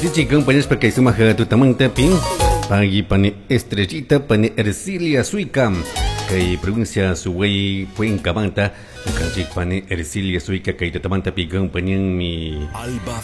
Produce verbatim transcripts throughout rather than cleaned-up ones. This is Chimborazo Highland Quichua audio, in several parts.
Dichi compañeros kay sumaq tutamantapi pagui pani Estrellita pani Ercilia Suica kay provincia Suway Cuencamanta ñukanchik pani Ercilia Suica kay tutamantapi compañanmi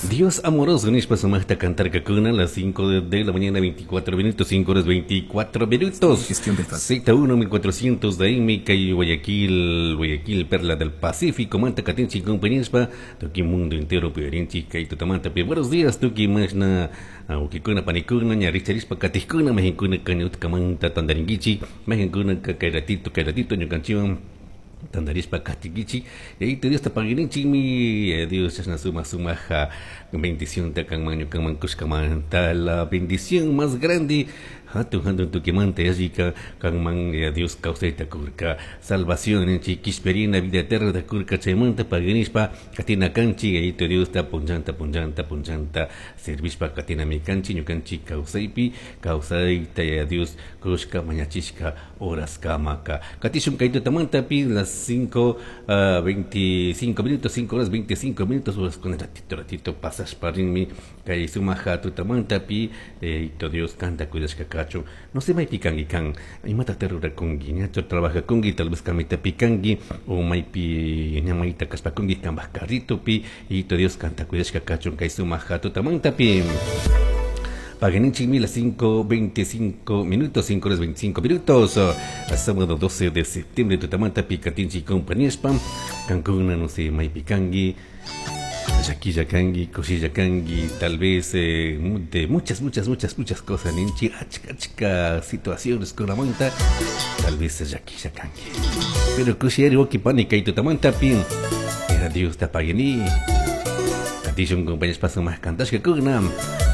Dios amoroso nishpa sumaqta cantarkakuna a las cinco de la mañana veinticuatro minutos, cinco horas veinticuatro minutos. Gestión del Z uno mil cuatrocientos de M kay Guayaquil, Guayaquil, Perla del Pacífico, manta katinchik compañeros tuki mundo entero pirinchik kay tutamantapi. Buenos días tuki mashna awkikuna panikuna ñaricharishpa katijkuna majinkuna kañutkamanta tandarinkichik majinkuna kay ratito kay ratito ñukanchikwan tandarishpa katikichik y ahí te Dios te paguirinchikmi Dios chashna suma sumaja bendición ta kanman ñukanman kushkamanta la bendición más grande hatun hatun tukimanta yallika kanman Dios kawsayta kurka salvación ninchik kishpirina vida eterna ta kurka chaymanta paguinishpa katina kanchik ahí te Dios ta punchanta punchanta punchanta servishpa katinami kanchik ñukanchik kawsaypi kawsayta ya Dios kushka mañachishka horas kamaka katishun kay tutamantapi las cinco uh, veinticinco minutos, cinco horas veinticinco minutos, horas con el ratito, ratito pasas parinmi kay sumaja tutamantapi eh, Dios canta cuidashka kachu no se maypi kanki kan imata rurakunki ñachu trabajakunki tal vez kamitapi kanki o maypi ñamayta kashpakunki kanpaj carritopi y Dios canta cuidashka kachun kay sumaja tutamantapi. Paganinchikmi las cinco veinticinco minutos, cinco horas veinticinco minutos. Sábado doce de septiembre, tutamanta picatinchi compañía spam. Cancún, no sé, maypikanki, llakilla kanki, kushilla kanki, tal vez eh, de muchas, muchas, muchas, muchas cosas, ninchi, achka, achka situaciones con la manta, tal vez llakilla kanki. Pero kushiyari waki pani kay tutamanta pin, era Dios te paguení. Katishun compañeros pasan más cantashka kuna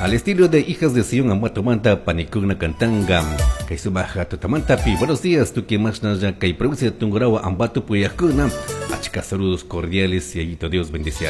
al estilo de Hijas de Sion Ambato Manta panikuna cantanga kay sumaja tutamanta pi. Buenos días tuki masna kay provincia de Tungurahua Ambato puyakuna achka saludos cordiales y ayito Dios bendice.